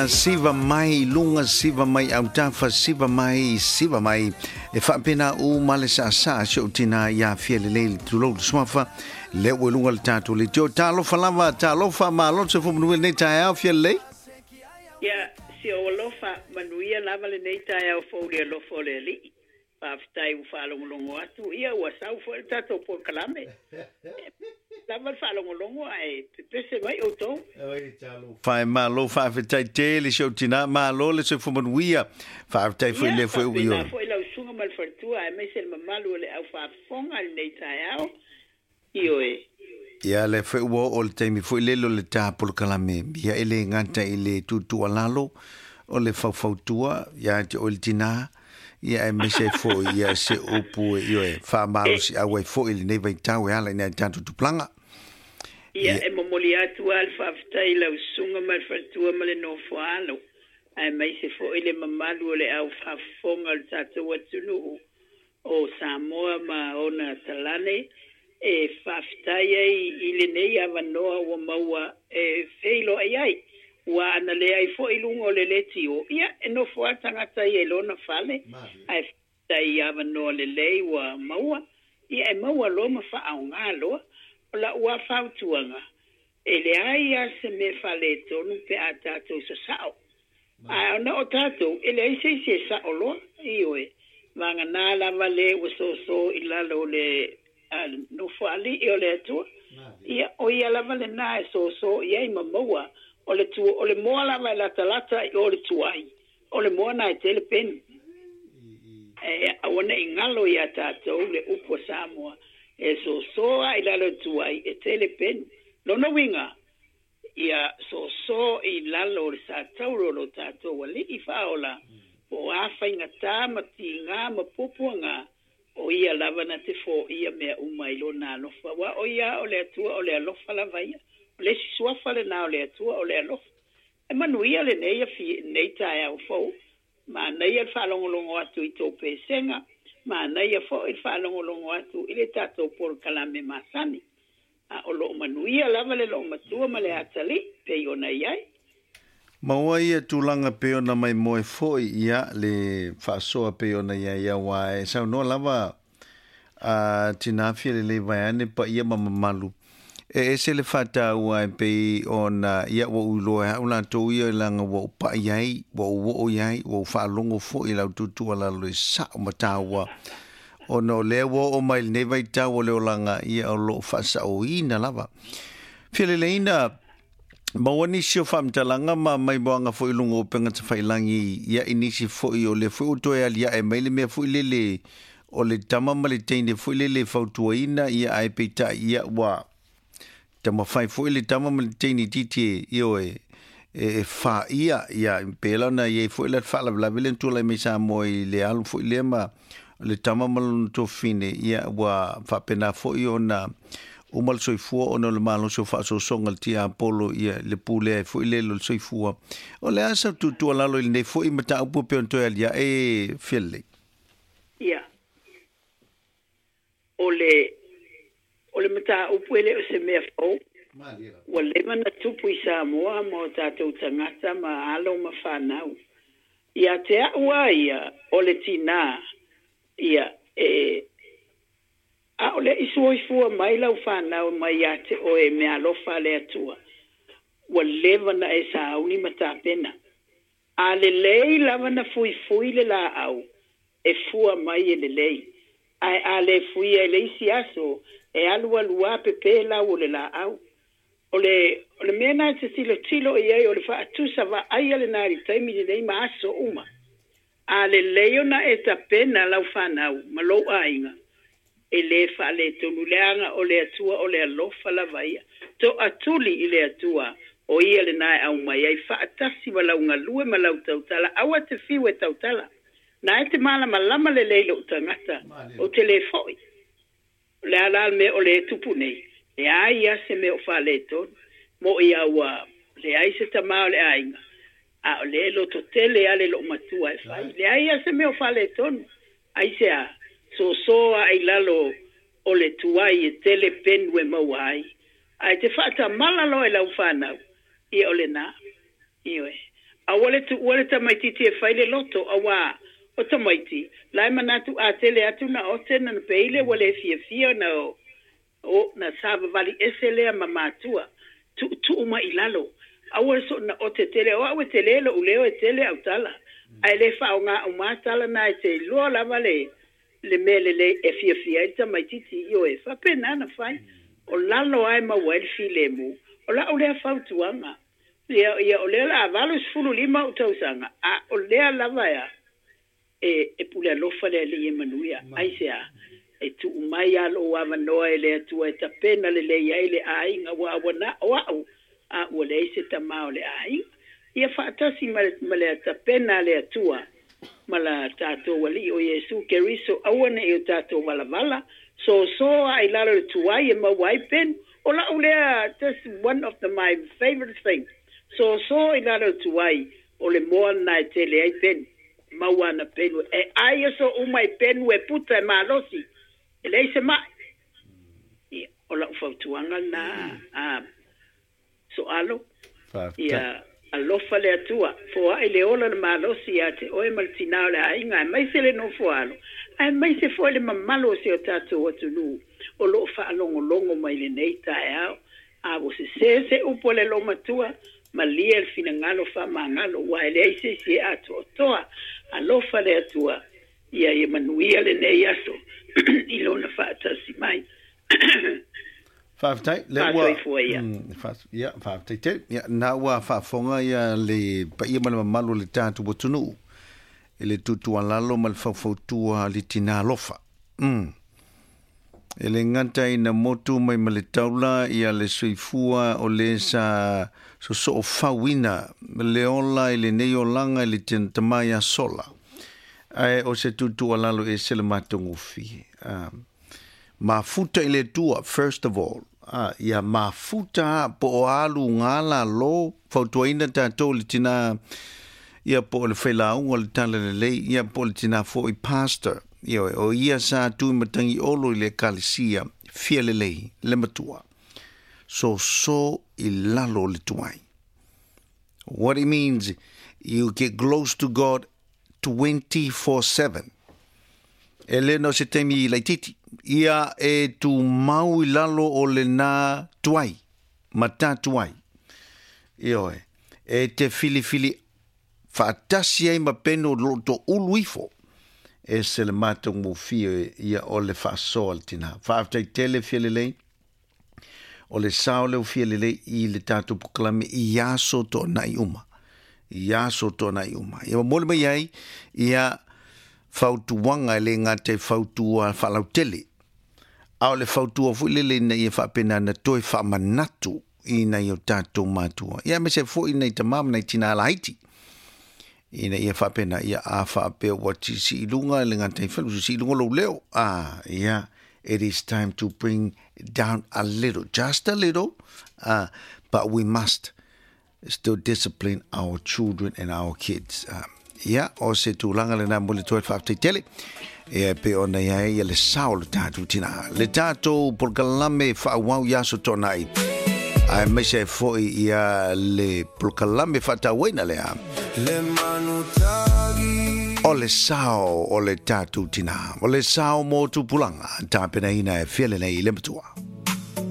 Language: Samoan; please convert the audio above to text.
Ia siva mai i luga, siva mai i autafa, siva mai, siva mai. E faapena uma le saasaa a si ou tinā ia afia lelei le tulou le suafa, lea ua i luga o le tatou leitio. Talofa lava, talofa, malo le soifua manuia i lenei taeao, fia lelei. Ia, si ou alofa, manuia lava lenei taeao fou i le alofa o le Alii. Faafetai ua faalogologo atu, ia ua sau foi le tatou polokalame. Lava le faalogologo ae pepese mai outou. Fae malo faafetai tele si ou tina, malo le soifua manuia. Faafetai foi le foi ui. Ia, foi lau susuga ma le faletua aemaise le mamalu o le au faafofoga i lenei taeao. Ioe. Ia le foi ua oo le taimi foi lele o le ta polokalame, ia e le gata i le tuutuualalo o le faufautua ia te oe le tina, ia aemaise ai foi ia se upu e ioe faamalosiau ai foi i lenei vaitau e ala i nai tatou tupulaga. Ia, e momoli atu lava le faafetai i lau susuga ma le faletua ma le nofoaalo, aemaise foi le mamalu o le au faafofoga o le tatou atunuu o Samoa ma ona talane, e faafetai ai i lenei avanoa ua maua e feiloai ai. Ua ana leai foi i luga o le leitio, ia, e nofo lava le tagata ia i lona fale, ae faafetai i avanoa lelei ua maua, ia e maua loa ma faaaoga loa. O lau lava fautuaga, e leai lava se mea faaletonu pe a tatou sasao. Ae ona o tatou, e leai se isi e sao loa, ioe, vagana lava le ua soso i lalo o le Nofoalii o le Atua, ia, o ia lava lena e soso i ai ma maua. O le, o le moa lava e latalata i o i le tuai, o le moa lena e tele peni. E aua ne i galo ia tatou le upu a Samoa, e soso lava i lalo i le tuai, e tele peni. Lona uiga, Ia soso i lalo o le satauro o lo tatou Alii Faaola, po o a faigata ma tiga ma puapuaga, o Ia lava na te foia mea uma i Lona alofa, aua o Ia o le Atua o le alofa lava ia. O le isi suafa lena o le Atua o le alofa. E manuia lenei afi, lenei taeao fou. Manaia le faalogologo atu i tou pesega, manaia foi le faalogologo atu i le tatou polokalame masani. A o lo o manuia lava le loomatua ma le atalii pei ona i ai. Maua ia tulaga pei ona maimoe foi ia le faasoa pei ona i ai aua e saunoa lava a tina fia lelei vaeane paia ma mamalu. E ese le faataua e pei ona ia ua ou iloa e au latou ia leaga ua ou pai ai, ua ou oo i ai, ua ou faalogo foi i lau tuutuualalo e sao ma taua. Ona o lea ua oo mai i lenei vaitau o le olaga, ia o lo o faasaoina lava. Fialeleina, maua nisi o faamatalaga ma maimoaga foi i luga o upega tafailangi, ia i nisi foi o lea foi ua toe aliae mai le mea foi lele o le tama ma le teine foi lele e fautuaina, ia ae peitai, ia ua taumafai foi le tama ma le teine itiiti e, ioe, e faia, ia, pei la ona i ai foi le faalavelave lea na tulai mai Samoa i le alu foi lea ma le tama ma lona tuafafine, ia, ua faapena foi ona uma le soifua ona o le malosi o faasoasoga le tiapolo, ia, le pulea ai foi lele o le soifua. O le a sau tuutuualalo i lenei foi mataupu e pei ona toe aliae Fialelei? Ia, O le o le mataupu e le o se mea fou. Ua leva na tupu i Samoa ma o tatou tagata ma alo ma fanau. Ia te a'u a ia, o le tinā, ia, e, a o le i soifua mai lau fanau mai ia te oe i meaalofa a le Atua, ua leva na e sauni ma tapena. A lelei lava na fuifui le laau, e fua mai e lelei. Ae a le fuia i le isi aso, e alualu a pepe lau o le laau. O le, o le mea na e te tilotilo i ai, o le faatusa vaaia lena i le taimi lenei ma aso uma. A lelei ona e tapena lau fanau ma lou aiga, e le faaletonu, leaga o le Atua o le alofa lava ia. Toatuli i le Atua, o Ia lena e aumai ai faatasi ma lau galue ma lau tautala. Aua e te fiu e tautala. Na e te malamalama lelei i lou tagata, ou te le foi. O le a la le mea o lea e tupu nei? Leai lava se mea o faaletonu. Mo'i a ua leai se tama o le aiga, a o lea e lototele lava le loomatua e fai. Leai lava se mea o faaletonu. Aisea? Soso ae i lalo o le tuai e tele penu e maua ai. Ae te faatamala loa i lau fanau, ia o lena. Ioe. Aua le tuua le tamaititi e fai le loto, auā o tamaiti la e manatu a tele atu na ote na peile ua le fiafia na o na savavali ese lea ma matua. Tuutuu mai i lalo. Aua le soona ote tele, o au e tele lou leo e tele au tala. Ae le faaaoga uma tala na e te iloa lava le le mea lelei e fiafia ai le tamaititi. Ioe, faapena na fai. O lalo lava e maua ai le filemu. O lau lea fautuaga. Ia, ia o lea o le a 85 ou tausaga, a o lea lava ea e, e pule alofa le Alii e manuia. Aisea? E tuu mai lava lou avanoa e le Atua e tapena lelei ai le aiga, aua ua na o au, a ua leai se tama o le aiga. Ia faatasi ma le, ma le tapena a le Atua ma la tatou Alii o Iesu Keriso, aua ne i o tatou valavala, soso lava i lalo i le tuai e maua ai penu. O lau lea, that's one of the my favourite thing, soso i lalo i le tuai, o le moa lena e tele ai penu, maua ana penu. E ai aso uma i penu e puta e malosi, e leai se mai. Ia, o lau fautuaga lena, a Soalo, ia alofa le Atua, foai le ola le malosi ia te oe ma le tinā o le aiga, aemaise le nofo alo, aemaise foi le mamalu o si o tatou atunuu o lo o faalogologo mai lenei taeao. A ua sese se upu a le loomatua, malie le finagalo faamagalo, aua e leai se isi e atoatoa. Alofa le Atua, ia ia manuia lenei aso i Lona faatasi mai. Faafetai, lea ua Faasoifua ia. Ia, faafetai tele. Ia, na ua faafofoga ia le paia ma le mamalu o le tatou atunuu i le tuutuualalo ma le faufautua a le tinā alofa. E le gata ina motu mai ma le taula ia le soifua o le sa sosoofauina le ola i lenei olaga i le tama ia Sola, ae o se tuutuualalo e ese le matagofie. Mafuta i le Atua, first of all. Ia mafuta po o alu ga lalo, fautuaina tatou le tinā, ia po o le failauga o le Talalelei, ia po o le tinā foi pastor. Ioe, o ia sa tu matangi olo i le ekalesia, fia lelei, le matua. Soso i lalo le tuai. What it means, you get close to God 24/7. E le no se taimi laititi. Ia e tumau i lalo o lena tuai, matā tuai. Ioe, e te filifili faatasi ai ma penu o lo to ulu ifo. E se le matagofie ia o le faasoa le tinā. Faafetai tele fia lelei. O le sao leo fia lelei i le tatou polokalame i aso toanai uma. I aso toanai uma. Ia momoli mai ai ia fautuaga e le gata i fautua faalautele, a o le fautua foi lele ina ia faapena ona toe faamanatu i nai o tatou matua, ia aemaise foi i nai tama ma nai tina laiti, ina ia faapena, ia a faapea ua siisii i luga le gataifale, ua siisii i luga lou leo, ia, it is time to bring down a little, just a little, but we must still discipline our children and our kids. Ia, o se tulaga lena mo le toe faafetai tele. Ia, pe ona i ai ia le sao le tatou tina. Le tatou polokalame faaauau i aso toanai. Aemaise ai foi ia le polokalame faatauaina lea. Le manutagi. O le sao o le tatou tina. O le sao mo tupulaga tapenaina e fia lelei i le matua.